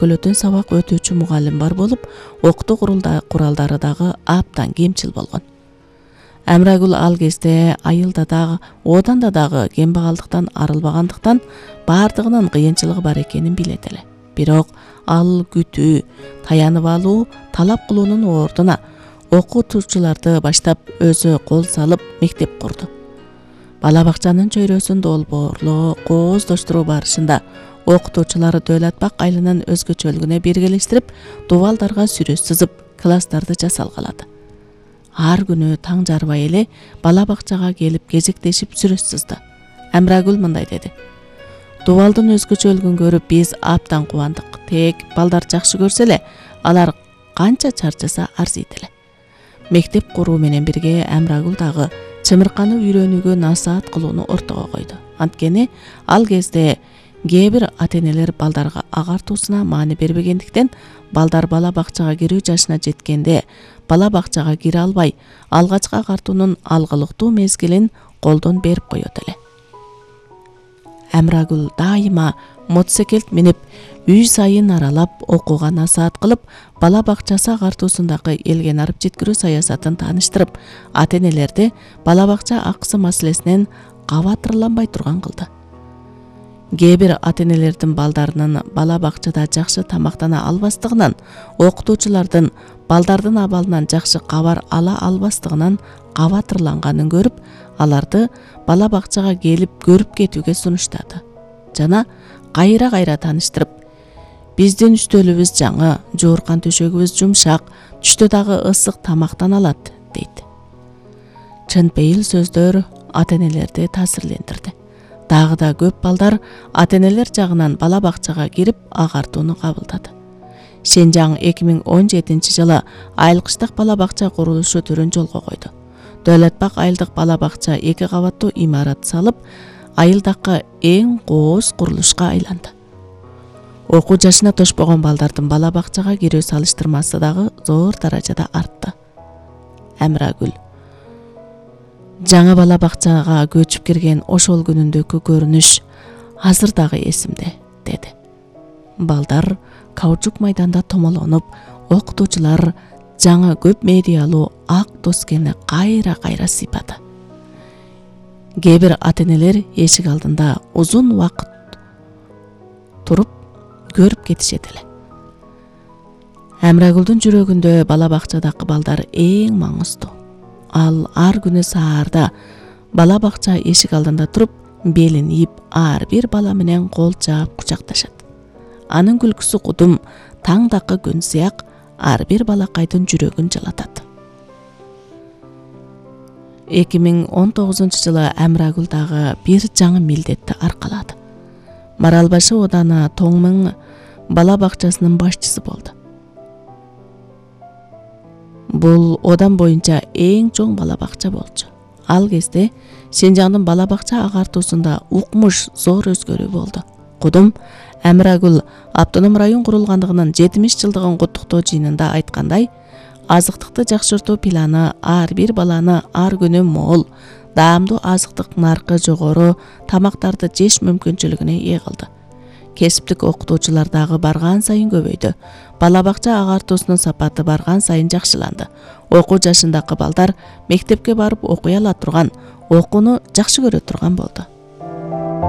Көлөтөн сабак өтүүчү мугалим бар болуп, окутуу куралдары дагы аптан кемчил болгон. Амрагүл ал кезде айылда дагы, оданда дагы кембагалдыктан арылбагандыктан бардыгынын кыйынчылыгы бар экенин билет эле. Бирок ал күтүү, таянып алуу, талап кылуунун ордуна окутуучуларды баштап өзү кол салып мектеп курду. Бала бакчанын чөйрөсүн долбоорлоо, кооздоштуруу барышында окутуучулар Дөөлөтбак айылынын өзгөчөлүгүнө биргелештирип, дубалдарга сүрө сызып, класстарды жасалгалады. Ар күнү таң жарбай эле бала бакчага келип кезектешип сүрө сызды. Амрагүл мындай деди: "Дубалдын өзгөчөлүгүн көрүп биз аптан кубандык. Тек балдар жакшы көрсө эле, алар канча чарчаса арзыйт эле." Мектеп куруу менен бирге Амрагүл дагы чымырканы үйрөнүүгө насаат кылууну ортого койду. Анткени ал кезде кээ бир ата-энелер балдарга агартуусуна маани бербегендиктен, балдар бала бакчага кирүү жашына жеткенде бала бакчага кире албай, алгачкы агартуунун алгылыктуу мезгилин колдон берип коет эле. Амрагүл дайыма мотоциклет минип, үй сайын аралап, окууга насаат кылып, бала бакчасы агартуусундагы элге нарып жеткирүү саясатын тааныштырып, ата-энелерди бала бакча акысы маселесинен кабатырланбай турган кылды. Кээ бир ата-энелердин балдарынын бала бакчада жакшы тамактана албастыгынан, окутуучулардын балдардын абалынан жакшы кабар ала албастыгынан кабатырланганын көрүп, аларды бала бакчага келип көрүп кетүүгө сунуштады. Жана кайра тааныштырып, "Биздин үстөлүбүз жаңы, жууркан төшөгүбүз жумшак, түштө дагы ысык тамактана алат" дейт. Чын пейил сөздөр ата-энелерди таасирлендирди. Дагы да көп балдар ата-энелер жагынан бала бакчага кирип агартууну кабылдады. Шенжаң 2017-жылы айылкыштык бала бакча курулушу түрүн жолго койду. Дөөлөтбак айылдык бала бакча 2 кабаттуу имарат салып, айылдагы эң кооз курулушка айланды. Окуу жашына тошпогон балдардын бала бакчага кирүү салыштырмасы дагы зор даражада артты. Амрагүл: "Жаңы бала бакчага көчүп кирген ошол күнүндөгү көрүнүш азыр дагы эсимде", деди. Балдар каучук майданда томолонуп, окутуучулар жаңы көп медиалуу ак доскени кайра сыйпады. Кээ бир ата-энелер эшик алдында узун убакыт туруп көрүп кетишет эле. Амрагүлдүн жүрөгүндө бала бакчадагы балдар эң маңыздуу. Ал ар күнү саарда бала бакча эшик алдында туруп, белин ийип, ар бир бала менен кол жаап кучакташат. Анын күлкүсү кудум, таңдакы күн сыяк ар бир балакайдын жүрөгүн жалатат. 2019-жылы Амрагүл дагы бир жаңы милдетти аркалады. Маралбашы ооданы Тоңмың бала бакчасынын башчысы болду. Бул одан боюнча эң чоң бала бакча болчу. Ал кезде Шенжаңдын бала бакча агартуусунда укмуш зор өзгөрүү болду. Кудум Амрагүл автоном район курулгандыгынын 70 жылдыгын куттуктоо жыйынында айткандай, азыктыкты жакшыртуу планы ар бир баланы ар күнү мол, даамдуу азыктык наркы жогору тамактарды жеш мүмкүнчүлүгүнө ээ кылды. Кесиптик окутуучулар дагы барган сайын көбөйдү. Бала бакча агартуусунун сапаты барган сайын жакшыланды. Окуу жашындагы балдар мектепке барып окуй ала турган, окууну жакшы көрө турган болду.